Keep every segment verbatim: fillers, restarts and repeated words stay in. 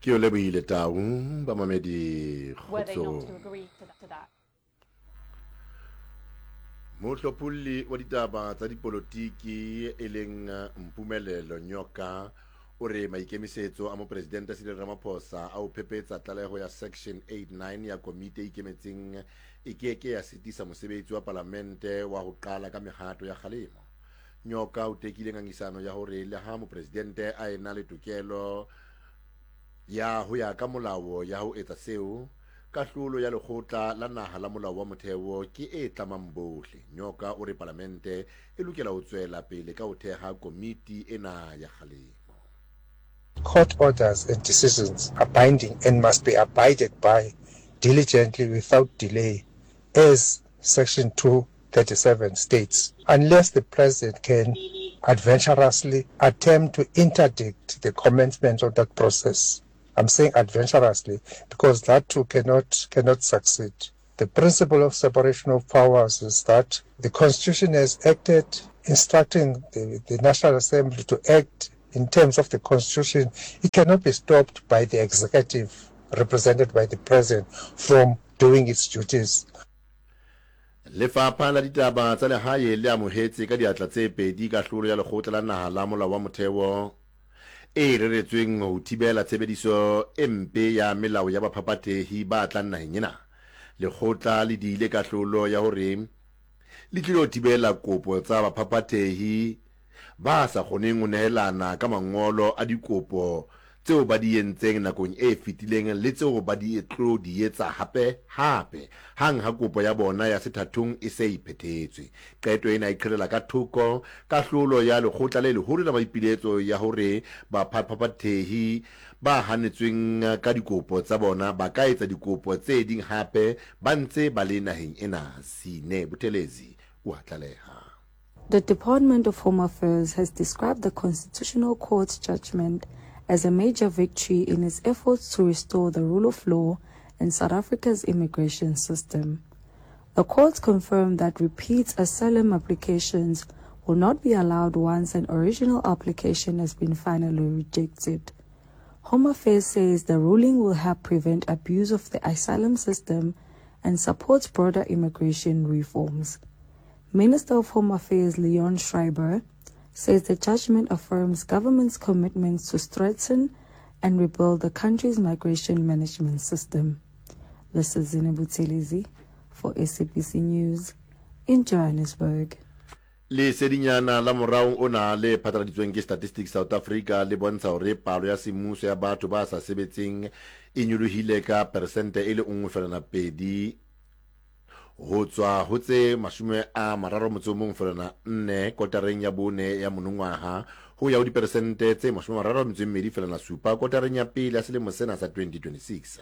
Ke o lebohile Tau, bamamedi kgotsong. Mohlopholli wa ditaba tsa dipolotiki e leng Mpumelelo Nyoka o re maikemisetso a mopresidente Cyril Ramaphosa a ho phephetsa tlaleho ya Section eighty-nine ya komiti e ikemetseng e ke ke ya sitisa mosebetsi wa palamente wa ho qala ka mehato ya kgalemo. Nyoka o tekile ngangisano ya hore le ha mopresidente a ena le tokelo ya ho ya ka molao ya ho etsa seo, kahlolo ya lekgotla la naha la molao wa motheo ke e tlamang bohle. Nyoka o re palamente e lokela ho tswela pele ka ho theha komiti ena ya kgalemo. Court orders and decisions are binding and must be abided by diligently without delay, as Section two thirty-seven states, unless the president can adventurously attempt to interdict the commencement of that process. I'm saying adventurously because that too cannot, cannot succeed. The principle of separation of powers is that the Constitution has acted instructing the, the National Assembly to act in terms of the Constitution. It cannot be stopped by the executive represented by the president from doing its duties. Lefapha la ditaba tsa lehae le amohetse ka diatla tse pedi kahlolo ya lekgotla la naha la molao wa motheo e reretsweng ho thibela tshebediso e mpe ya melao ya baphaphathehi ba tlang naheng ena. Lekgotla le diile kahlolo ya hore le tlilo thibela kopo tsa baphaphathehi ba sa kgoneng ho nehelana ka mangolo a dikopo tseo ba di entseng nakong e fetileng le tseo ba di tlo di etsa hape hape hang ha kopo ya bona ya sethathong e se e phethetswe. Qeto ena e qhelela ka thoko kahlolo ya lekgotla le leholo la maipiletso ya hore baphaphathehi ba hanetsweng ka dikopo tsa bona ba ka etsa dikopo tse ding hape ba ntse ba le naheng ena. Sine Buthelezi o a tlaleha. The Department of Home Affairs has described the Constitutional Court's judgment as a major victory in its efforts to restore the rule of law in South Africa's immigration system. The court confirmed that repeat asylum applications will not be allowed once an original application has been finally rejected. Home Affairs says the ruling will help prevent abuse of the asylum system and supports broader immigration reforms. Minister of Home Affairs Leon Schreiber says the judgment affirms government's commitment to strengthen and rebuild the country's migration management system. This is Zine Buthelezi for S A B C News in Johannesburg. Lesedinyana la morao ona le phatlaladitsweng ke Statistics South Africa le bontsha hore palo ya semmuso ya batho ba sa sebetseng e nyolohile ka persente e le nngwe feela pedi ho tswa ho tse mashome a mararo motso o mong feela nne kotareng ya bone ya monongwaha ho ya ho diperesente tse mashome a mararo metso e mmedi feela supa kotareng ya pele ya selemo sena sa twenty twenty-six.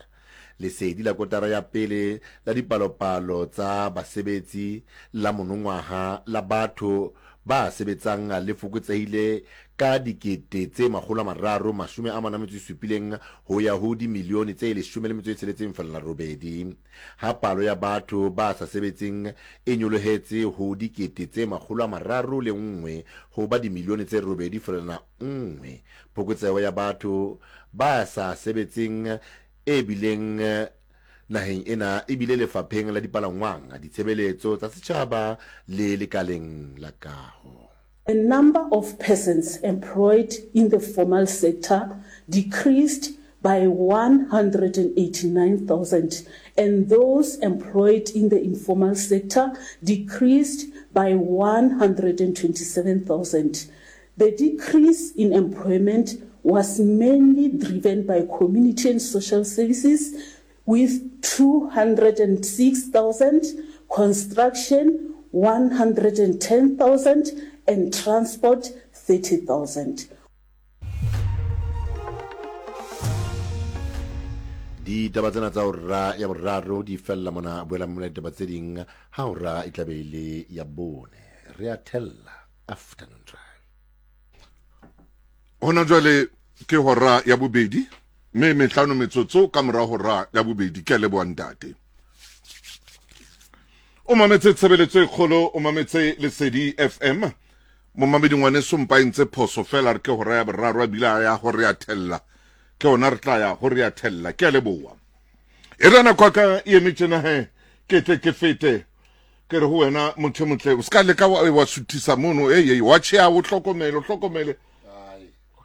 Lesedi la kotara ya pele la dipalopalo tsa basebetsi la monongwaha la batho ba sebetsang le fokotsehile ka dikete tse makgolo a mararo mashome a mane a metso e supileng ho ya ho dimilione tse leshome le metso e tsheletseng feela robedi. Ha palo ya batho ba sa sebetseng e nyolohetse ho dikete tse makgolo a mararo le nngwe ho ba dimilione tse robedi feela nngwe. Phokotseho ya batho ba sa sebetseng e bileng naheng ena e bile lefapheng la dipalangwang, ditshebeletso tsa setjhaba le lekaleng la kaho. The number of persons employed in the formal sector decreased by one hundred eighty-nine thousand and those employed in the informal sector decreased by one hundred twenty-seven thousand. The decrease in employment was mainly driven by community and social services with two hundred six thousand, construction one hundred ten thousand, and transport thirty thousand. Ditaba tsena tsa hora ya boraro di fella mona, boela mona ditaba tse ding ha hora e tla be e le ya bone. Re a thella Afternoon Drive. Hona jwale ke hora ya bobedi mme mehlano metsotso ka mora hora ya bobedi. Ke a leboha ntate. O mametse tshebeletso e kgolo, o mametse Lesedi F M. Momamedi ngwaneso mpa e ntse phoso fela, re ke hora ya boraro a bile a ya hore ya thella. Ke ona re tla ya go re ya thella. Ke a leboha. E re nako ka e eme tjena he, ke tle ke fete. Ke re ho wena motho motle, o ska leka wa wa suthisa mono, e e wa tjhe o hlokomele, o hlokomele.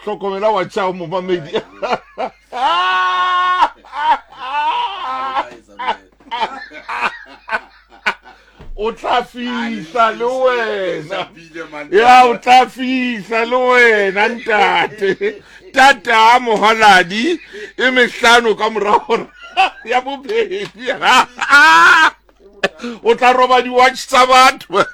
Hlokomela wa tjha momamedi. O tla fihla le wena. Ya o tla fihla le wena ntate. Tata mohaladi e mehlano ka mora hora ya bobedi. O tla roba di-watch tsa batho.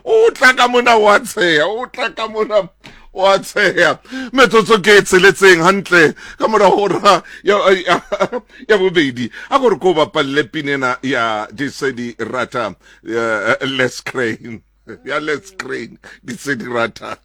O tla ka mona wa tsheha, o tla ka mona wa tsheha. Metsotso ke e tsheletseng hantle ka mora hora ya ya bobedi. A gore ko bapalle pinena ya Disedi Rata, Les Crane. Ya Les Crane, Disedi Rata.